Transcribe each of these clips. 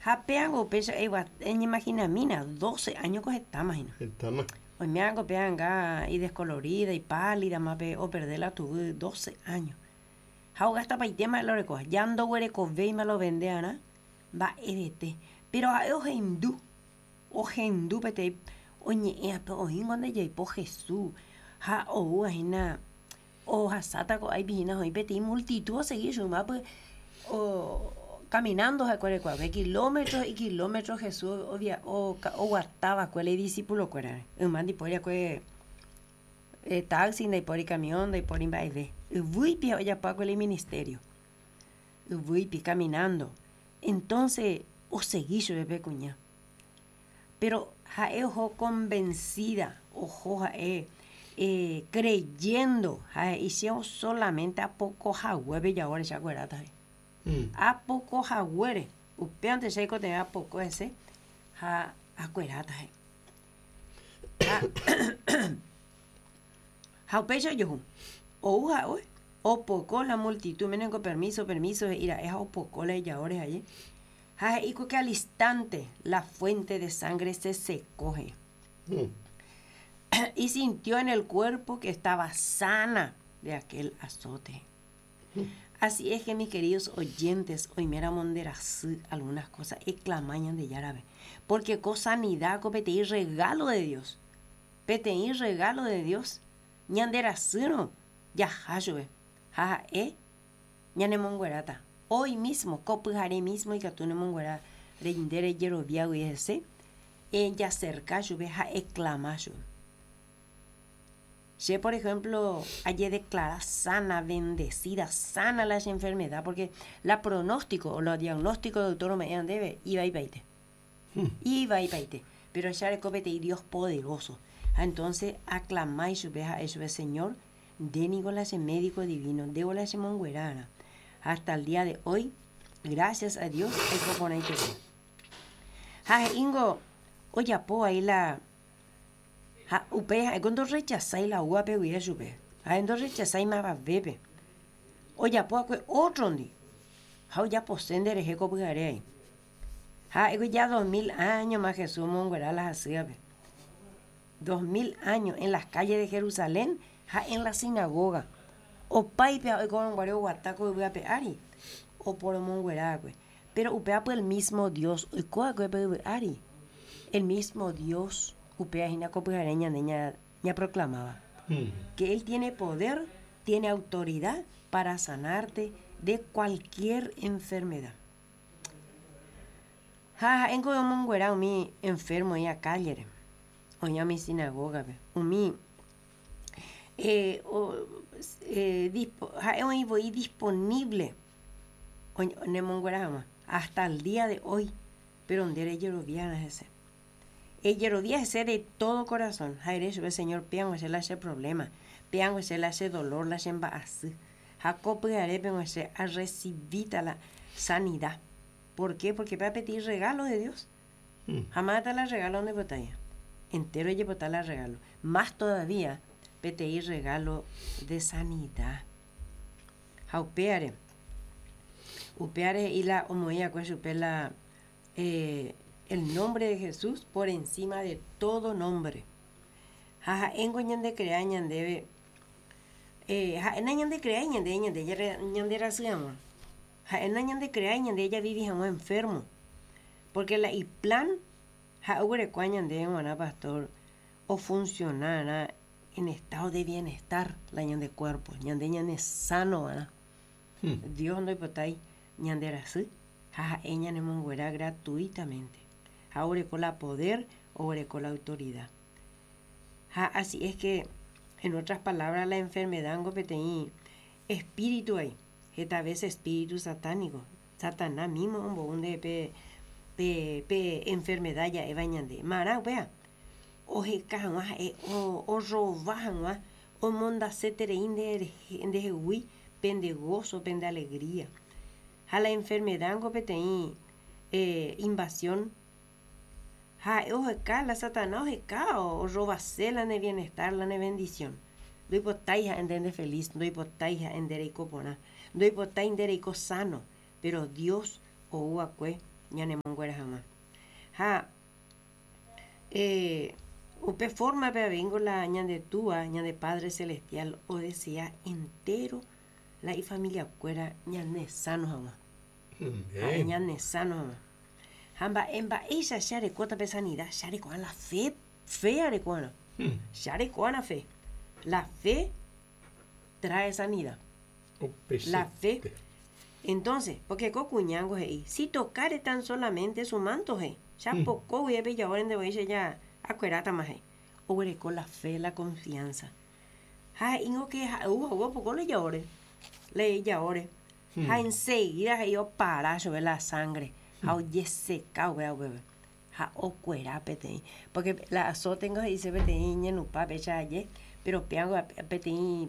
Ha péango upéicha eñeimaginamína, 12 áñoko hetáma hína. Hetáma. Oiméango pe anga idescolorida, ipálidama pe operde la tuvy 12 áño. Ha ogastapaitéma la orekóva. Ja ndoguerekovéima la ovende arã mba'evete. Péro ha'e ohendu, ohendu peteĩ oñe'ẽape oĩngo nde jaipo Jesús ha oúva hína ohasáta ko'áipi hína oĩ peteĩ multitud osegi chumápy caminando ha'ekuéra oikuaave kilómetro y kilómetro Jesús oguata va'ekue la idisípulokuérare. Yma ndipóri va'ekue taxi, ndaipóri camión, ndaipóri mba'eve. Yvýipi ojapo va'ekue la iministério. Yvýipi, caminando. Entonce osegi chupe pe kuña. Péro ha'e oho konvensída, oho ha'e kreyéndo ha he'i che sólamente apoko haguépe javore che akueráta he'i. Apoko haguére, upévante che aikotevẽ apoko hese ha akueráta he'i. Ha upéicha ojohu, ou ha'e opoko la multitud, ménengo permiso, permiso he'i ra'e ha opoko la ijaóre ha'e. Ha he'i ko que al instante la fuente de sangre se secó, he'i. Y sintió en el cuerpo que estaba sana de aquel azote. Así es que mis queridos oyentes, oiméramo nde rasy algunas cosas, eclama Ñandejárape, porque ko sanidad ko peteĩ regalo de Dios, peteĩ regalo de Dios, ñande rasýrõ jaha chupe ha ha'e ñanemongueráta. Hoy mismo, ko pyhare mismo ikatu nemonguera nde rejeroviágui hese, ejaserka chupe ha eclama chupe. Che, por ejemplo, ajedeclara sana, bendecida, sana la che enfermedad, porque la pronóstico o la diagnóstico doctor ome'ẽva ndéve ivaipaite. Ivaipaite. Pero che areko peteĩ Dios poderoso. Ha entonces aclama ichupe ha'e chupe, Señor, nde niko la che médico divino, ndévo la chemonguerárã. Hasta el día de hoy, gracias a Dios, aiko porãiterei. Ha he'íngo ojapo vai la ha upéi ha'éko ndorrechasái la oúvape guive chupe. Ha'e ndorrechasái mavavépe. Ojapo va'ekue ótrondi ha ojapose nderehe ko pyhare ai. Ha ha'éko ja 2000 áñoma Jesús omonguera la hasývape. 2000 áño en las calles de Jerusalén ha en la sinagoga. Opáipe ha oikórõ guare oguata ko yvy ape ári oporomonguera va'ekue. Péro upéva el mismo Dios oiko va'ekue pe yvy ári. El mismo Dios upéva hína ko pyhare ñande ñaproclamáva. Que Él tiene poder, tiene autoridad para sanarte de cualquier enfermedad. Ha ha'éngo omonguera umi enfermo oĩva kállere, oĩva umi sinagógape, umi ha'e oĩ voi disponible nemonguera hag̃ua hasta el día de hoy, péro nde rejeroviárõ hese. Ejerovia hese de todo corazón ha ere chupe, Señor, péango che la che problema, péango che la che dolor, la che mba'asy. Ha ko pyharépengo che arresivíta la sanida. Por qué? Porque péva peteĩ regalo de Dios. Ha mávata la regalo ndoipotáiva? Entéro ojepota la regalo. Más todavía peteĩ regalo de sanida. Ha upévare, upévare he'i la omoĩ va'ekue chupe la el nombre de Jesús por encima de todo nombre. Ha ha'éngo ñandekrea ñandéve, ha'e nañandekreái ñande ñande rasy hag̃ua. Ha'e nañandekreái ñande javivi hag̃ua enfermo. Porque la iplan ha'e oguerekóva ñandéve g̃uarã pastor ofuncionarã en estado de bienestar la ñande cuerpo, ñande ñane sano va'erã. Dios ndoipotái ñande rasy ha ha'e ñanemonguera gratuitamente. Ha oguereko la poder, oguereko la autoridad. Ha así es que, en otras palabras, la enfermedad niko peteĩ espíritu vai, heta vece espíritu satánico, Satanás mismo ombou nde pe pe pe enfermedad ja'éva ñande. Marã upéva? Oheka hag̃ua ha'e orrova hag̃ua omondaseterei nde ndehegui pende gozo, pende alegría. Ha la enfermedad niko peteĩ invasión ha ha'e oheka, la Satanás oheka orrovase la ne bienestar, la ne bendición. Ndoipotái ha'e nde ndefeliz, ndoipotái ha'e nde reiko porã, ndoipotái nde reiko sano, pero Dios ou va'ekue Ñanemonguera hag̃ua. Ha eh, upe forma-pe aveingo la ñande Túa, ñande Padre Celestial odesea entero la ifamiliakuéra ñanesano hag̃ua. Ha'e ñanesano hag̃ua. Ha mba'e mba'éicha che arekóta pe sanida? Che areko'ã la fe, fe areko'arã. Che areko'arã fe. La fe trae sanida. La fe. Entonces, porque ko kuñángo he'i, si tocare tan solamente su manto he'i, che apoko guive pe ijaórente voi che ja akuerátama he'i. Oguereko la fe, la confianza. Ha he'íngo que ha'e ou hague opoko la ijaóre, la ijaóre. Ha enseguida he'i opara chupe la sangre ha ojeseka upéva upépe. Ha okuera peteĩ. Porque la azótengo he'ise peteĩ ñenupa péicha aje, pero péango peteĩ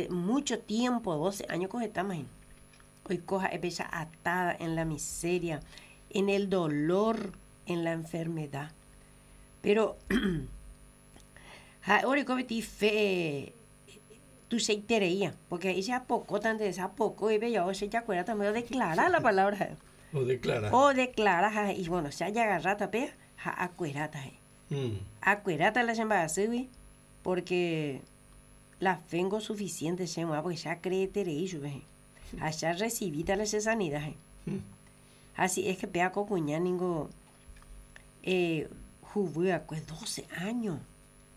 mucho tiempo, 12 años ko hetáma hína. Oiko ha'e péicha atada en la miseria, en el dolor, en la enfermedad. Pero ha'e oreko peteĩ fe tuichaitereía, porque he'i che apokótante, che apoko guive jao che jakueráta me odeclara la palabra ha'e. Odeclara. Odeclara ha he'i, bueno, che ajagarráta péa ha akueráta he'i. Akueráta la che mba'asýgui porque la fe ngo suficiente che g̃uarã porque che acreeterei chupe he'i. Ha che arrecibíta la che sanidad he'i. Ha si es que péa ko kuña ningo eh, huvy'akue 12 años.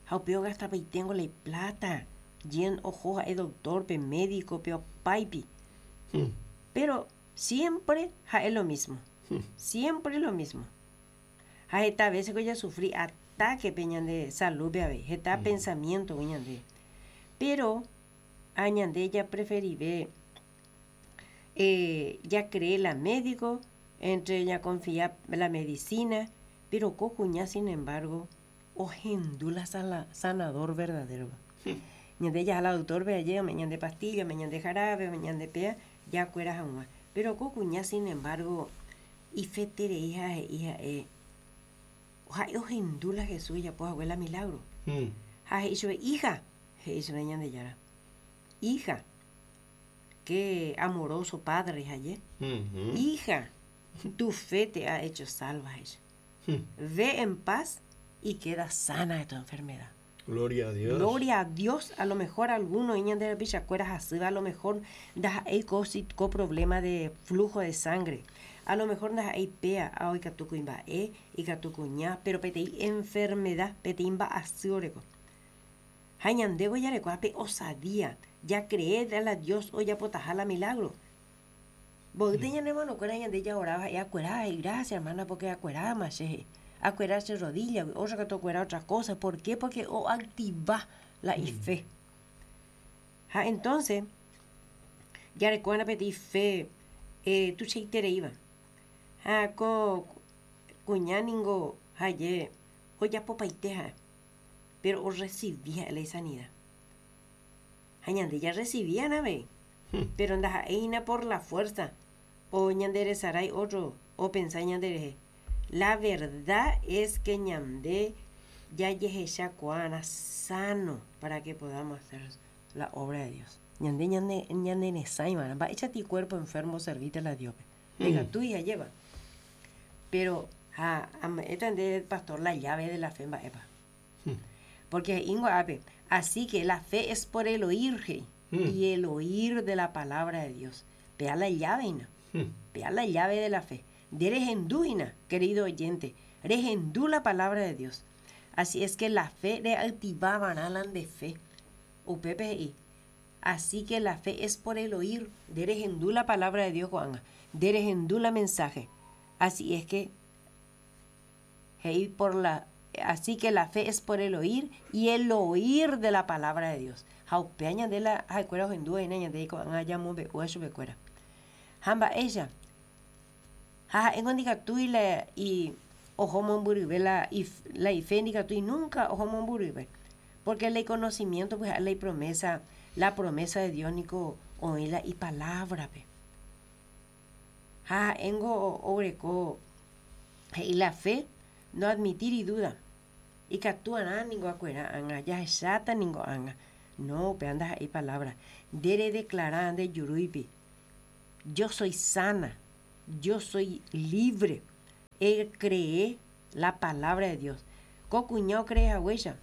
Ha upe ogastapaiténgo la ipláta, jen oho ha'e doctor-pe, médico-pe, opáipi. Péro siémpre ha'e lo mísmo. Siémpre lo mísmo. Ha heta véseko jasufri atákepe ñande salúpe avei, heta pensamiéntogui ñande. Péro a ñande japreferive jacree la médico entre ñakonfia la medicina, péro ko kuña sin embargo ohendu la sanador verdadero-pe. Ñande jaha la doctor-pe aje ome'ẽ ñande pastilla, ome'ẽ ñande jarabe, ome'ẽ ñande péa jakuera hag̃ua. Péro ko kuña sin embargo ifeterei ha he'i ha'e, ha'e ohendu la Jesús ojapo hague la milagro. Ha he'i chupe, Hija, he'i chupe Ñandejára, hija, qué amoroso padre haye, hija, tu fe te ha hecho salva, he'i chupe. Ve en paz y queda sana de tu enfermedad. Gloria a Dios. Gloria a Dios, a lo mejor alguno oĩ ñande rapichakuéra hasýva, a lo mejor ndaha'éi ko ko problema de flujo de sangre, a lo mejor ndaha'éi péa, ha ikatu kuimba'e, ikatu kuña, pero peteĩ enfermedad, peteĩ mba'asy oreko. Ha ñandévo jarekóva pe osadía, jacree la Dios ojapotaha la milagro. Mboýte ñane hermanokuéra ñande jaoráva ha'e akuera, he'i gracias hermana porque akueráma che he'i. Akuera che rodillagui, ótra katu okuera otra cosa. ¿Por qué? Porque oactiva la ife. Ha entonces jarekóva'erã peteĩ fe eh, tuichaitereíva. Ha ko kuña ningo ha'e ojapopaite ha'e, pero orrecibi ha'e la isanida. Ha ñande jarrecibía'erã avei. Péro ndaha'éi hína por la fuérsa o ñanderesarái ótro opensa ñanderehe. La verda es ke ñande jajehechakuaarã sáno para ke podamos hacer la obra de Dios. Ñande ñaneresãi va'erã. Mba'éicha ti cuerpo enfermo oservíta la Dios-pe? Ndaikatúi ajépa. Péro ha ame'ẽta ndéve pastor la llave de la fe mba'épa. Porque he'íngo ápe, Así que la fe es por el oír, he'i, y el oír de la palabra de Dios. Péa la llave hína. Péa la llave de la fe. Nde rehendu hína, querido oyente, rehendu la palabra de Dios. Así es que la fe reactiva va'erã la nde fe. Upépe he'i, Así que la fe es por el oír. Nde rehendu la palabra de Dios ko'ág̃a. Nde rehendu la mensaje. Así es que He'i por la Así que la fe es por el oír y el oír de la palabra de Dios. Ha upéva ñande la ha'ekuéra ohendúva hína ñande ko'ág̃a jamombe'úva chupekuéra. Ha mba'éicha? Ha ha'éngo ndikatúi la i oho mombyryve la la ife ndikatúi núnka oho mombyryve. Porque la iconocimiento pues ha'e la ipromesa, la promesa de Dios niko oĩ la ipalábrape. Ha ha'éngo oguereko he'i la fe no admitíri duda. Ikatu arã ningo akuera ág̃a, jahecháta ningo ág̃a. No, upéva ndaha'éi palabra. Nde redeclara nde jurúipi, Yo soy sana, yo soy libre. Ecree la palabra de Dios. Ko kuña ocree haguéicha,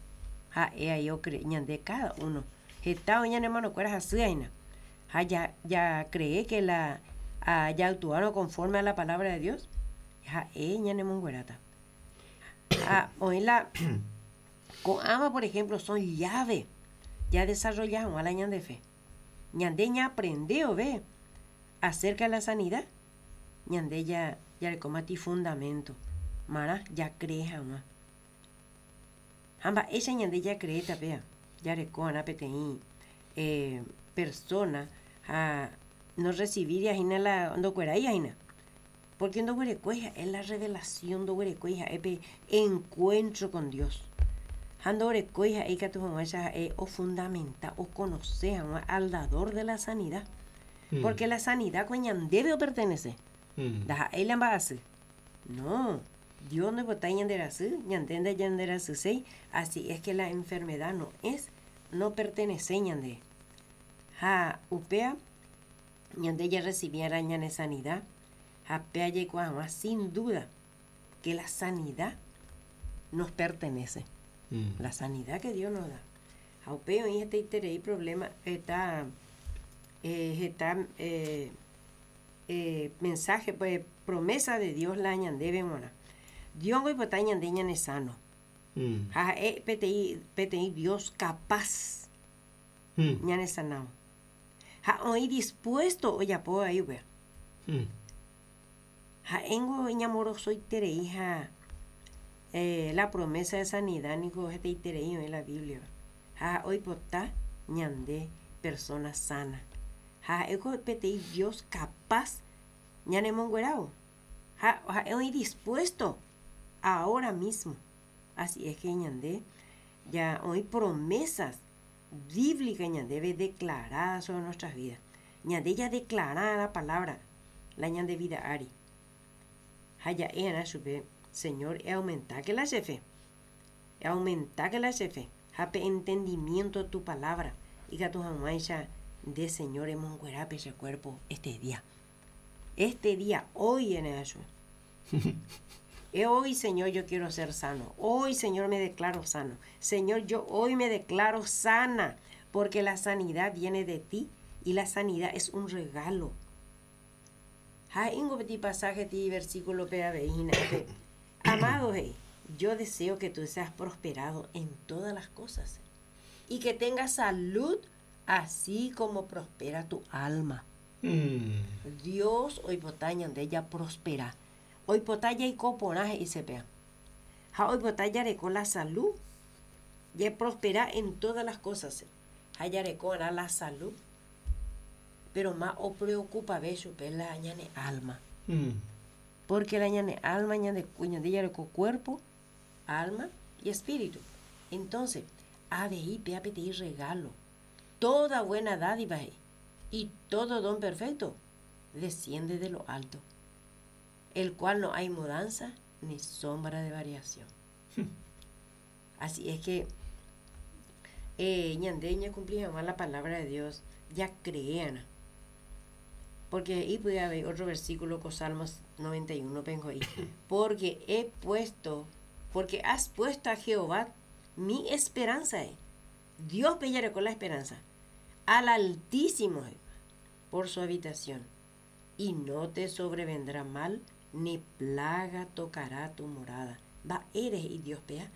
ha'e ai ocree ñande cada uno. Heta oĩ ñane hermanokuéra hasy aína. Ha ja, ja cree que la a, jaactuárõ conforme a la palabra de Dios, ha'e ñanemongueráta. Ha oĩ la ko'ãva por ejemplo son llave ja desarrolla hag̃ua la ñande fe. Ñande ñaaprende ove acerca de la sanidad, ñande ja jarekómati fundamento marã jacree hag̃ua. Ha mba'éicha ñande jacreéta péa? Jareko'arã peteĩ eh, persona ha no recibiría hína la ndokueráiva hína. Porque ndoguerekói ha'e la revelación, ndoguerekói ha'e pe encuentro con Dios. Ha ndorekói ha'e ikatu hag̃uáicha ha'e ofundamenta, oconoce hag̃ua al dador de la sanidad. Porque la sanidad ko ñandéve opertenece. Ndaha'éi la mba'asy. No, Dios ndoipotái ñande rasy, ñande ndañanderasyséi, así es que la enfermedad no es, no pertenece ñande. Ha upéva ñande jarrecibiarã ñane sanidad ha péa jaikuaa hag̃ua sin duda que la sanidad nos pertenece. La sanidad que Dios nos da. Ha upéi oĩ hetaiterei problema, heta, heta mensaje, pues, promesa de Dios la ñandéve g̃uarã. Dios oipota ñande ñane sano. Ha ha'e peteĩ, peteĩ Dios capaz ñane sanávo. Ha oĩ dispuesto ojapo avei upéva. Ha'éngo iñamorosoiterei ha la promesa de sanidad niko hetaiterei oĩ la Biblia-pe. Ha oipota ñande persona sana. Ha ha'éko peteĩ Dios capaz ñanemonguerávo. Ha ha'e oĩ dispuesto ahora mismo. Así es que ñande ya oĩ promesas bíblica ñandéve declarada sobre nuestras vidas. Ñande ya declarada la palabra la ñande vida ári. Ha ja'e'arã chupe, Señor, eaumentáke la che fe. Eaumentáke la che fe ha pe entendimiento tu palabra ikatu hag̃uáicha nde Señor emonguera pe che cuerpo este día. Este día, hoy ere'ã chupe. Hoy, Señor, yo quiero ser sano. Hoy, Señor, me declaro sano. Señor, yo hoy me declaro sana, porque la sanidad viene de ti y la sanidad es un regalo. Ha he'íngo peteĩ pasaje ti versículo-pe avei hína pe, Amado he'i, yo deseo que tú seas prosperado en todas las cosas y que tengas salud así como prospera tu alma. Dios oipota ñande japrospera. Oipota jaiko porã he'ise péa. Ha oipota jareko la salud, japrospera en todas las cosas ha jareko arã la salud. Pero ma opreocupave chupe la ñane alma. Porque la ñane alma ñande, ñande jareko cuerpo, alma y espíritu. Entonces, avei péa peteĩ regalo. Toda buena dádiva he'i, y todo don perfecto desciende de lo alto, el cual no hay mudanza ni sombra de variación. Así es que eh, ñande ñacumpli hag̃ua la palabra de Dios jacree'arã. Porque he'i py'ae avei otro versículo ko Salmos 91 pengo he'i, porque he puesto, porque has puesto a Jehová mi esperanza he'i. Dios pe jareko la esperanza, al Altísimo he'i, por su habitación, y no te sobrevendrá mal, ni plaga tocará tu morada. Mba'ére he'i Dios péa?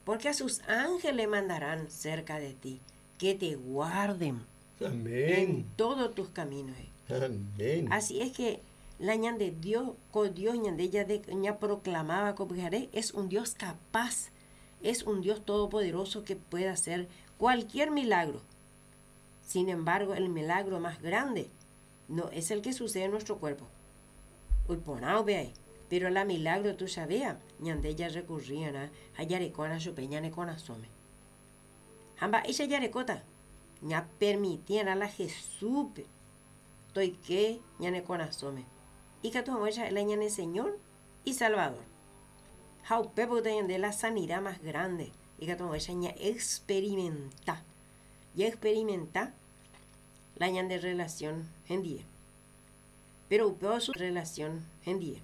Porque a sus ángeles mandarán cerca de ti, que te guarden Amén. en todos tus caminos. Amén. Así es que la ñande Dios, ko Dios ñande ya de, ña proclamaba ko pyhare, es un Dios capaz, es un Dios todopoderoso que puede hacer cualquier milagro. Sin embargo, el milagro más grande no es el que sucede en nuestro cuerpo. Oiporã upe pero la milagro tuichavéva ñande jarrecurri'arã ha jareko'arã chupe ñane korasõme. Ha mba'éicha jarekóta? Ñapermiti'arã la Jesúspe toike ñane korasõme. Ikatu hag̃uáicha ha'e la ñane Señor y Salvador. Ha upépe oúta ñande la sanidad más grande ikatu hag̃uáicha ña'experimenta. Jaexperimenta la ñande relación hendie. Pero upéva su relación hendie.